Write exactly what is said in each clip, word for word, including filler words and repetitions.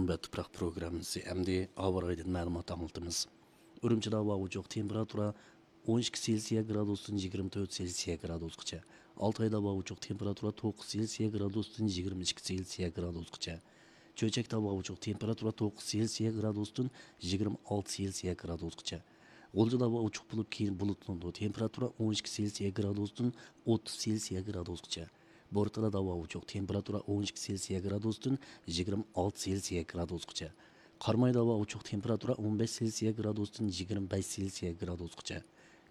ۋە تۇپراق پروگراممىسى ئەمدى ھاۋا رايىدىن مەلۇمات ئاڭلىتىمىز. ئۈرۈمچىدە ھاۋا ئوچۇق، تېمپېراتۇرا ئون ئىككى سېلسىيە گرادۇستىن يىگىرمە تۆت سېلسىيە گرادۇسقىچە. ئالتايدا ھاۋا ئوچۇق، تېمپېراتۇرا توققۇز سېلسىيە گرادۇستىن يىگىرمە ئىككى سېلسىيە گرادۇسقىچە. چۆچەكتە ھاۋا ئوچۇق، تېمپېراتۇرا توققۇز سېلسىيە گرادۇستىن يىگىرمە ئالتە سېلسىيە گرادۇسقىچە. غۇلجىدا ھاۋا ئوچۇق بولۇپ، كېيىن بۇلۇتلىنىدۇ، تېمپېراتۇرا ئون ئىككى سېلسىيە گرادۇستىن ئوتتۇز سېلسىيە گرادۇسقىچە. بورتالادا ھاۋا ئوچۇق، تېمپېراتۇرا ئون ئىككى سېلسىيە گرادۇستىن يىگىرمە ئالتە سېلسىيە گرادۇسقىچە. قارامايدا ھاۋا ئوچۇق، تېمپېراتۇرا ئون بەش سېلسىيە گرادۇستىن يىگىرمە بەش سېلسىيە گرادۇسقىچە.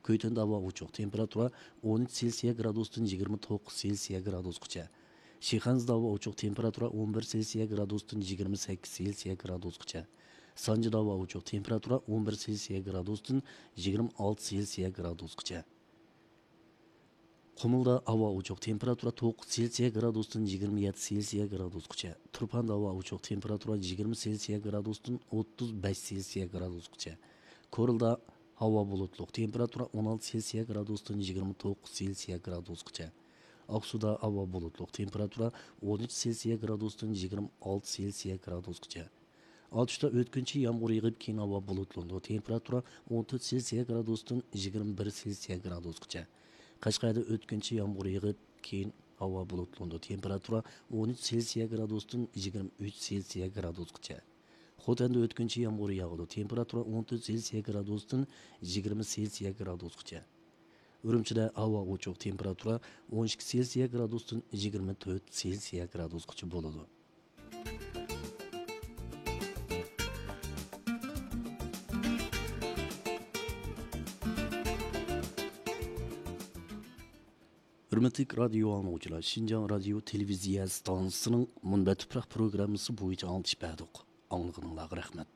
كۈيتۈندە ھاۋا ئوچۇق، تېمپېراتۇرا ئون ئۈچ سېلسىيە گرادۇستىن يىگىرمە توققۇز سېلسىيە گرادۇسقىچە. شىخەنزىدە ھاۋا ئوچۇق، تېمپېراتۇرا ئون بىر سېلسىيە گرادۇستىن يىگىرمە سەككىز سېلسىيە گرادۇسقىچە. سانجىدا ھاۋا ئوچۇق، تېمپېراتۇرا ئون بىر سېلسىيە گرادۇستىن يىگىرمە ئالتە سېلسىيە گرادۇسقىچە. قۇمۇلدا ھاۋا ئوچۇق، تېمپېراتۇرا توققۇز سېلسىيە گرادۇستىن يىگىرمە يەتتە سېلسىيە گرادۇسقىچە. تۇرپاندا ھاۋا ئوچۇق، تېمپېراتۇرا يىگىرمە سېلسىيە گرادۇستىن ئوتتۇز بەش سېلسىيە گرادۇسقىچە. كورلىدا ھاۋا بۇلۇتلۇق، تېمپېراتۇرا ئون ئالتە سېلسىيە گرادۇستىن يىگىرمە توققۇز سېلسىيە گرادۇسقىچە. ئاقسۇدا ھاۋا بۇلۇتلۇق، تېمپېراتۇرا ئون ئۈچ سېلسىيە گرادۇستىن يىگىرمە ئالتە سېلسىيە گرادۇسقىچە. ئاتۇشتا ئۆتكۈنچى يامغۇر يېغىپ، كېيىن ھاۋا بۇلۇتلىنىدۇ، تېمپېراتۇرا ئون تۆت سېلسىيە گرادۇستىن يىگىرمە بىر سېلسىيە گرادۇسقىچە. قەشقەردە ئۆتكۈنچى يامغۇر يېغىپ، كېيىن ھاۋا بۇلۇتلىنىدۇ، تېمپېراتۇرا ئون ئۈچ سېلسىيە گرادۇستىن يىگىرمە ئۈچ سېلسىيە گرادۇسقىچە. خوتەندە ئۆتكۈنچى يامغۇر ياغىدۇ، تېمپېراتۇرا ئون تۆت سېلسىيە گرادۇستىن يىگىرمە سېلسىيە گرادۇسقىچە. ئۈرۈمچىدە ھاۋا ئوچۇق، تېمپېراتۇرا ئون ئىككى سېلسىيە گرادۇستىن يىگىرمە تۆت سېلسىيە گرادۇسقىچە بولىدۇ. ھۆرمەتلىك رادىيو ئاڭلىغۇچىلار، شىنجاڭ رادىيو تېلېۋىزىيە ئىستانسىسىنىڭ مۇنبەت تۇپراق پروگراممىسى بويىچە ئاڭلىتىش بەردۇق. ئاڭلىغىنىڭلارغا رەھمەت.